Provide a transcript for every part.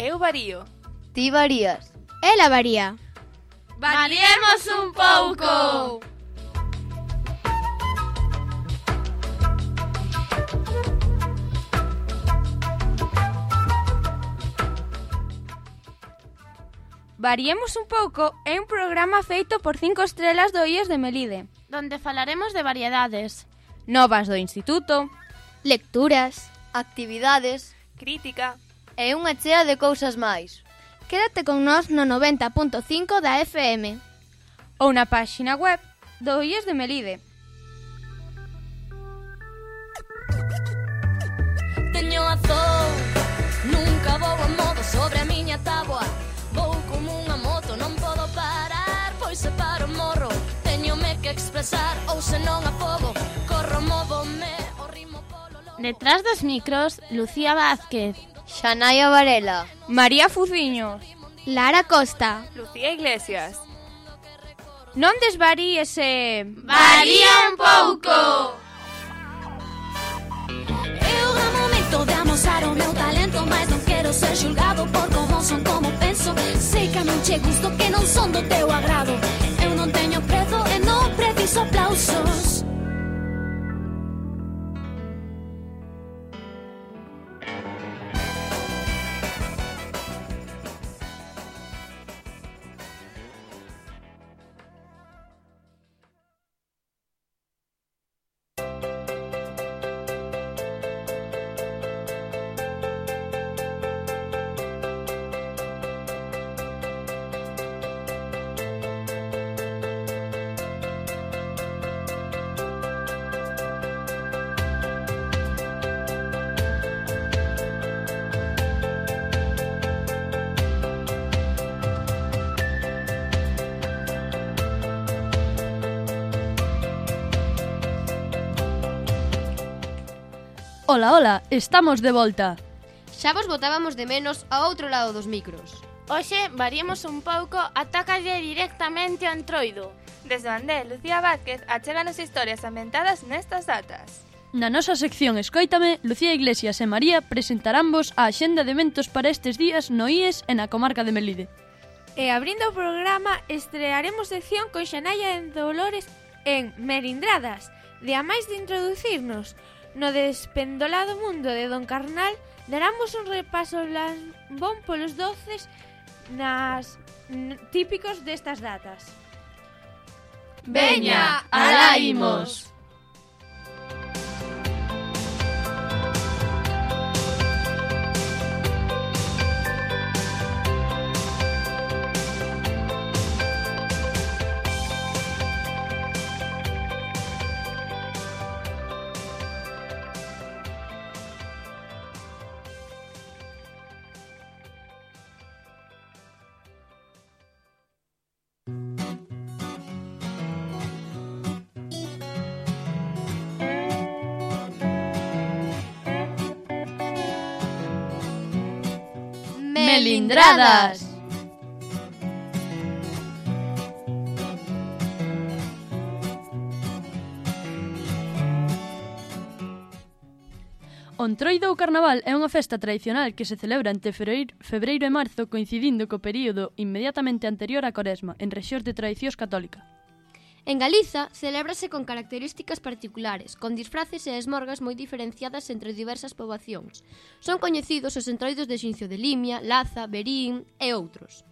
Eu varío. Ti varías. Ela varía. Variemos un pouco! Variemos un pouco é un programa feito por 5 estrelas do IES de Melide, donde falaremos de variedades, novas do instituto, lecturas, actividades crítica e unha chea de cousas máis. Quédate con nós no 90.5 da FM ou na páxina web do IES de Melide. Teño azul, nunca vou a modo sobre a miña táboa. Vou como unha moto, non podo parar, pois se paro morro. Teñome que expresar, ou se non afogo, corro, móvome, o ritmo polo lobo. Detrás dos micros, Lucía Vázquez, Xanaia Varela, María Fuciños, Lara Costa, Lucía Iglesias. Non desvaríes e... Varía un pouco! Eu no momento de amosar o meu talento, mas non quero ser xulgado por como son, como penso. Sei que non che gusto, que non son do teu agrado. Eu non teño prezo e non preciso aplausos. Ola, ola, estamos de volta. Xa vos botábamos de menos ao outro lado dos micros. Hoxe variemos un pouco, atácalle directamente ao Entroido. Desde onde Lucía Vázquez achéganos historias ambientadas nestas datas. Na nosa sección Escóitame, Lucía Iglesias e María presentaránvos a axenda de eventos para estes días no IES e na comarca de Melide. E abrindo o programa, estrearemos sección con Xanaia en Dolores en Melindradas. De a máis de introducirnos no despendolado mundo de Don Carnal, daramos un repaso lambón polos doces típicos destas datas. Veña, alá imos! Melindradas. O Entroido ou Carnaval é unha festa tradicional que se celebra entre febreiro e marzo, coincidindo co período inmediatamente anterior á Coresma, en rexións de tradicións católica. En Galiza, celébrase con características particulares, con disfraces e esmorgas moi diferenciadas entre diversas poboacións. Son coñecidos os entroidos de Xincio de Limia, Laza, Verín e outros.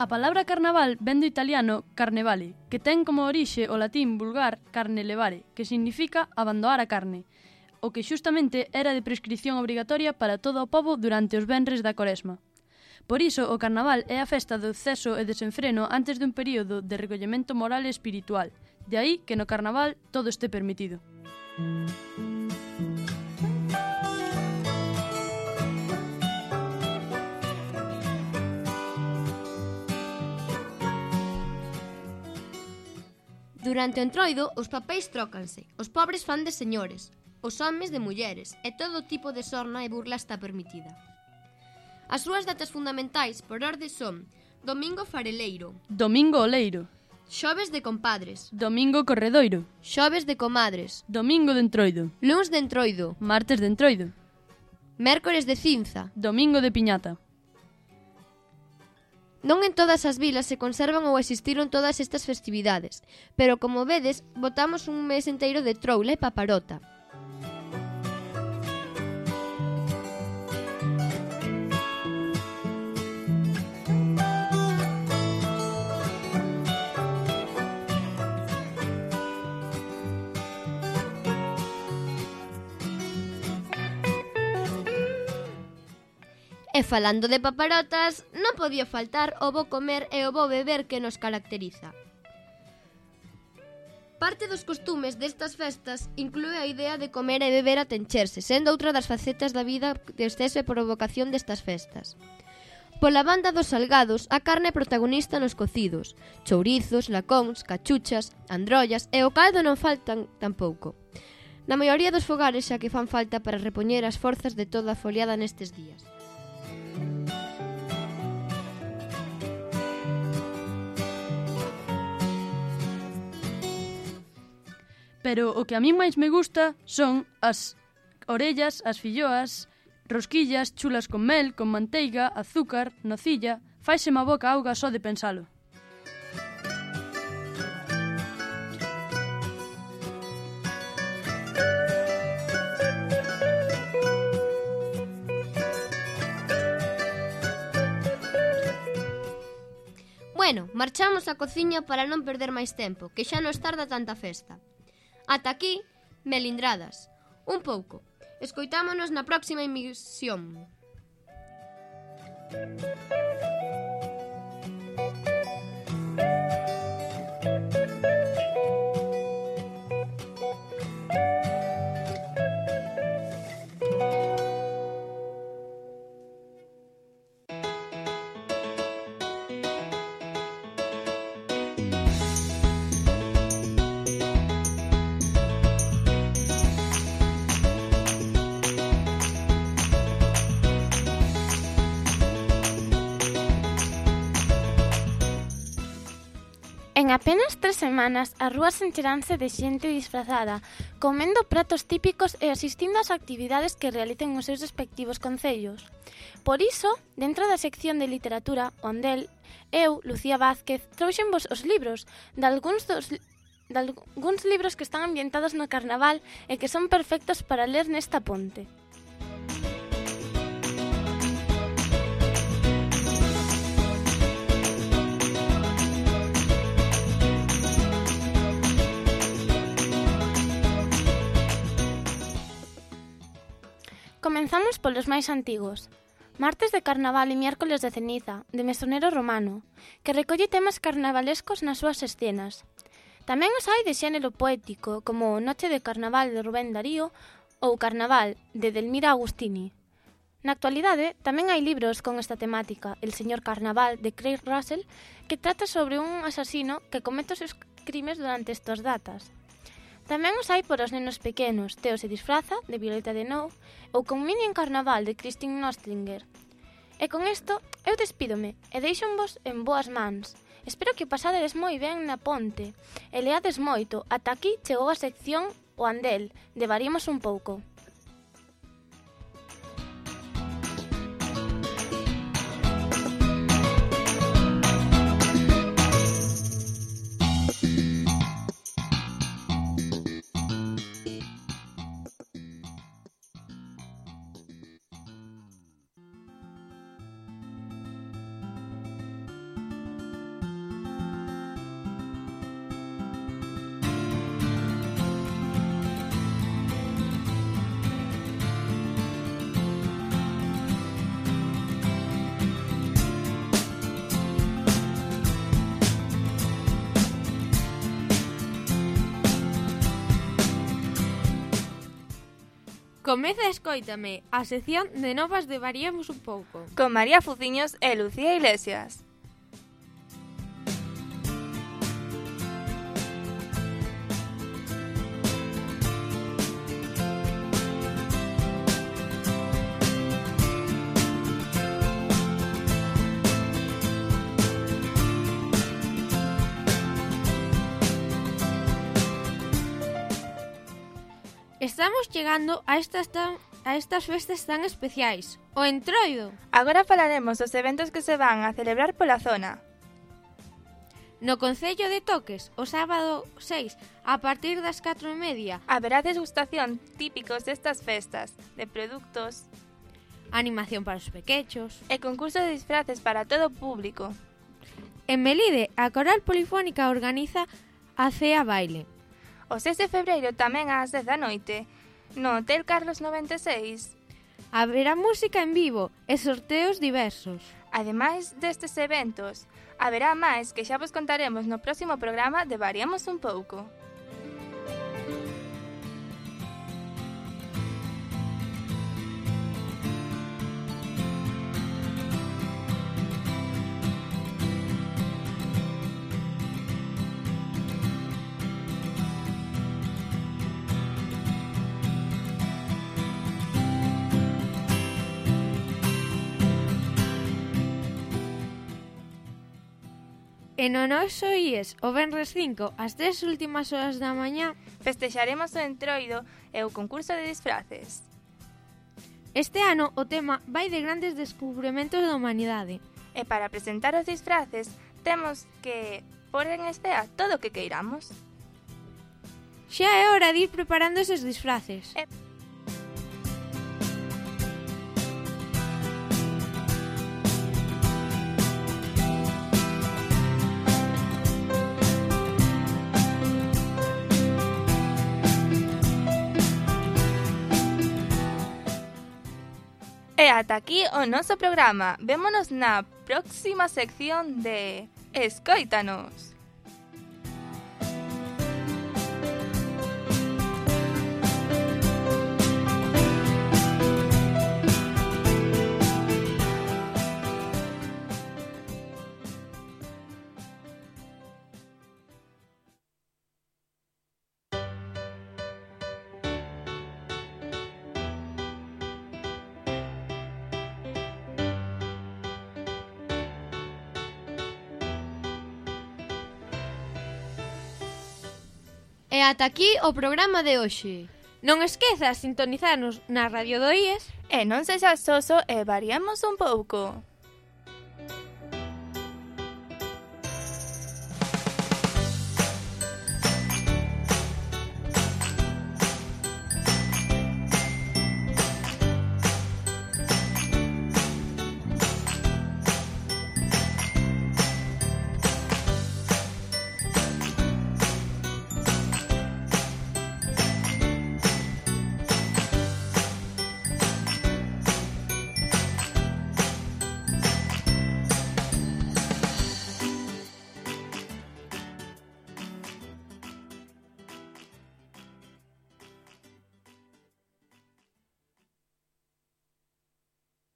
A palabra carnaval ven do italiano carnevale, que ten como orixe o latín vulgar carne levare, que significa abandoar a carne, o que xustamente era de prescripción obrigatoria para todo o pobo durante os venres da Coresma. Por iso, o carnaval é a festa do exceso e desenfreno antes dun período de recollemento moral e espiritual. De aí que no carnaval todo este permitido. Durante o entroido, os papéis trócanse. Os pobres fan de señores, os homes de mulleres, e todo tipo de sorna e burla está permitida. As súas datas fundamentais, por orde, son Domingo fareleiro, Domingo oleiro, Xoves de compadres, Domingo corredoiro, Xoves de comadres, Domingo de entroido, Luns de entroido, Martes de entroido, Mércores de cinza. Domingo de piñata. Non en todas as vilas se conservan ou existiron todas estas festividades, pero como vedes, botamos un mes enteiro de troula e paparota. E falando de paparotas, non podía faltar o bo comer e o bo beber que nos caracteriza. Parte dos costumes destas festas inclúe a idea de comer e beber a tencherse, sendo outra das facetas da vida de exceso e provocación destas festas. Pola banda dos salgados, a carne é protagonista nos cocidos, chourizos, lacóns, cachuchas, androllas e o caldo non faltan tampouco. Na maioría dos fogares xa que fan falta para repoñer as forzas de toda a foliada nestes días. Pero o que a mí máis me gusta son as orellas, as filloas, rosquillas, chulas con mel, con manteiga, azúcar, nocilla. Faiseme a boca auga só de pensalo. Bueno, marchamos á cociña para non perder máis tempo, que xa nos tarda tanta festa. Ata aquí, Melindradas. Un pouco. Escoitámonos na próxima emisión. En apenas 3 semanas, as rúas encheranse de xente disfrazada, comendo pratos típicos e asistindo ás actividades que realicen os seus respectivos concellos. Por iso, dentro da sección de literatura, Ondel, eu, Lucía Vázquez, trouxenvos os libros de algúns libros que están ambientados no Carnaval e que son perfectos para ler nesta ponte. Comenzamos polos máis antigos. Martes de Carnaval e Miércoles de Ceniza, de Mesonero Romano, que recolle temas carnavalescos nas súas escenas. Tamén os hai de xénero poético, como Noche de Carnaval de Rubén Darío ou Carnaval de Delmira Agustini. Na actualidade, tamén hai libros con esta temática, El señor Carnaval, de Craig Russell, que trata sobre un asasino que comete os seus crimes durante estas datas. Tamén os hai por os nenos pequenos, Teo se disfraza, de Violeta de Nou, ou con Mini en Carnaval, de Christine Nostringer. E con isto, eu despídome e deixonvos en boas mans. Espero que pasadedes moi ben na ponte e leades moito. Ata aquí chegou a sección O Andel, de Variemos un pouco. Comeza Escóitame, a sección de novas de Variemos un pouco. Con María Fuciños e Lucía Iglesias. Estamos chegando a estas festas tan especiais, o Entroido. Agora falaremos dos eventos que se van a celebrar pola zona. No Concello de Toques, o sábado 6, a partir das 4:30, haberá degustación típicos destas festas, de produtos, animación para os pequechos e concurso de disfraces para todo o público. En Melide, a Coral Polifónica organiza a Cea Baile. O 6 de febreiro tamén ás 10 da noite, no Hotel Carlos 96. Haberá música en vivo e sorteos diversos. Ademais destes eventos, haberá máis que xa vos contaremos no próximo programa de Variamos un pouco. E no noso IES, o venres 5, ás 3 últimas horas da mañá, festexaremos o Entroido e o concurso de disfraces. Este ano o tema vai de grandes descubrimentos da humanidade. E para presentar os disfraces, temos que pôr en escena todo o que queiramos. Xa é hora de ir preparando eses disfraces. E ata aquí o noso programa. Vémonos na próxima sección de Escóitanos. E ata aquí o programa de hoxe. Non esquezas sintonizarnos na Radio do IES. E non sexas soso e variamos un pouco.